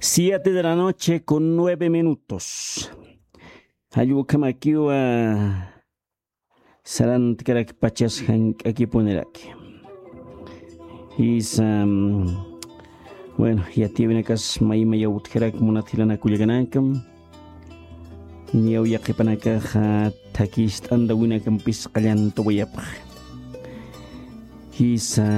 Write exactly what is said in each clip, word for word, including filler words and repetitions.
Siete de la noche con nueve minutos. Jallwkhamakiwa sarantkarakpachas jank'akipuniraki. Jisa, bueno, yatiyawinakas maymaya utjarak munat jilanakullakanakam. Niyaw yaqipanakaxa thakist'antawinakampis qallantawayapxa. Jisa,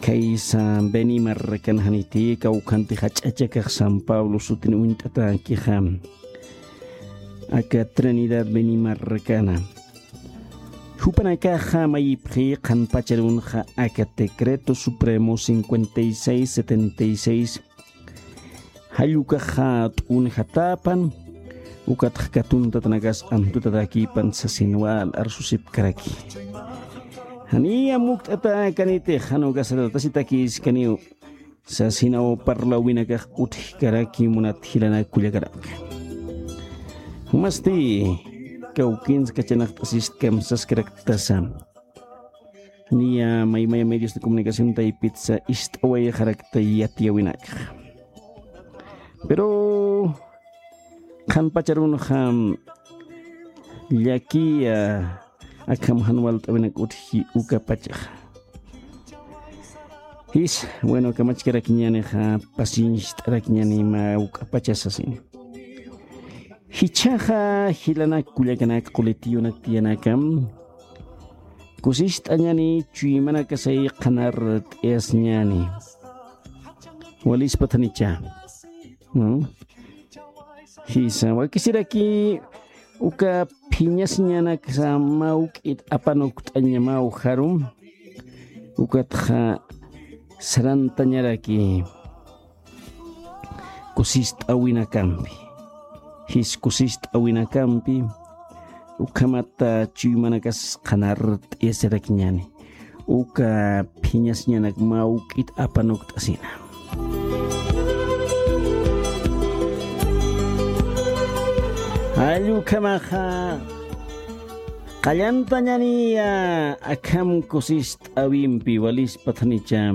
kaysa Benimarrakan janiti kawkhanti jach'achakax San Pablo sutin uñt'atakixa. Aka Trinidad Benimarrakana. Jupanakaxa mayipxi qhanpacharunxa aka Decreto Supremo cincuenta y seis setenta y seis. Jallukaxa t'unjatäpan ukatxa katuntatanakas antutatakipan sasin wal arsusipkaraki. Janiya mukt'atäkanitix jan ukasatatasitakïskaniw sasinaw parlawinakax utjkaraki munat jilanak kullakanaka. Jumasti kawkins kachanaxt'asist kamsaskaraktasa. Niya maymaya medios de comunicación taypitsa ist'awayxarakta yatiyawinakxa. Pero qhanpacharunxa llakiya akham jan walt'awinak utji ukapachaxa. Jis, bueno, kamachkarakiñänixa, pacienciat'arakiñäni mä uk'apachasasin. Jichhaxa jilanak kullakanak qulitiyunak tiyanakam kusist'añäni, chuymanakasay qhanar t'iyasñäni. Walispathanicha. Jisa wakisiraki uka phiñasiñanaksa mawk'it apanukt'añamaw jarum. Ukatxa sarantañaraki kusist'awinakampi. Jis kusist'awinakampi ukhamata chuymanakas qhanar t'iyasirakiñäni. Uka phiñasiñanak mawk'it apanukt'asina. Jallwkhamaxa qallantañaniya akham kusist'awimpi walispathanicha.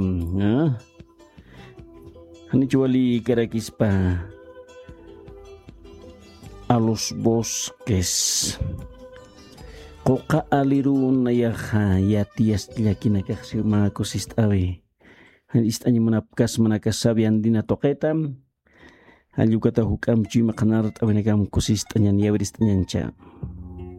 Janich walïkarakispa a los bosques. Quqa alirun nayaxa yatiyas llakinakaxsi mä kusist'awi. Jan ist'añamunapkas manakasawi andina tuqita. Jallwkata juk'amp chuyma qhanart'awinakam kusist'añan yawirist'añancha.